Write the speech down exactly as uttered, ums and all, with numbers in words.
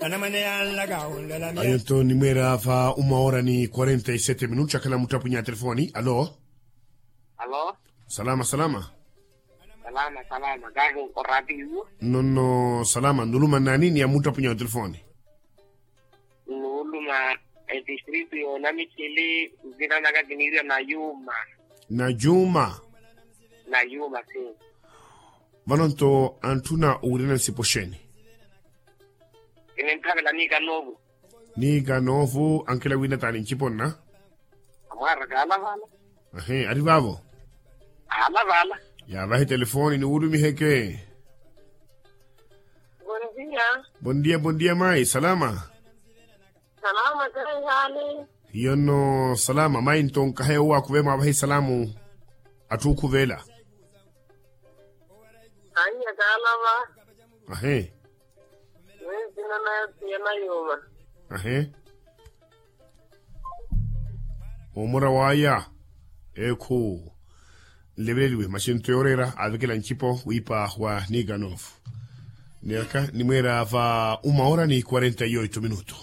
Ayo nto nimweera va uma hora ni quarenta e sete minutos akhala muttapunya a telefoni. Alo. Alo. Salama salama. Salama salama kahi. Oratiyo. Nonno salama nuluma nani ni amuttapunya a telefoni? Nuluma etistritu yonamichili. Nzina naka kiniriwa na yuma. Na yuma. Na yuma si. Vano nto antthuna owirina nsipo xeeni? Kininthavela niika novu. Niika novu ankela wina taani ncipo nna. Amwaara kaalavala. Ahi ari vaavo. Aalavala. Yaavahi telefoni niwulumiheke. Bondia. Bondia bondia mayi salama. Salama kaihali. Hiyo nno salama mayi nto nkahe owo akhuve mwaavahi salamu. Atthu okhuvela. Annya kaalava. Ahi. Mwenzina nayo tiyana yuma. Ahi. Omura waya. Ekhu. Nleveleliwe maxinto yooreera aavekela ncipo wiipa wa niganov. Niyaka nimweera va uma hora ni quarenta e oito minuto.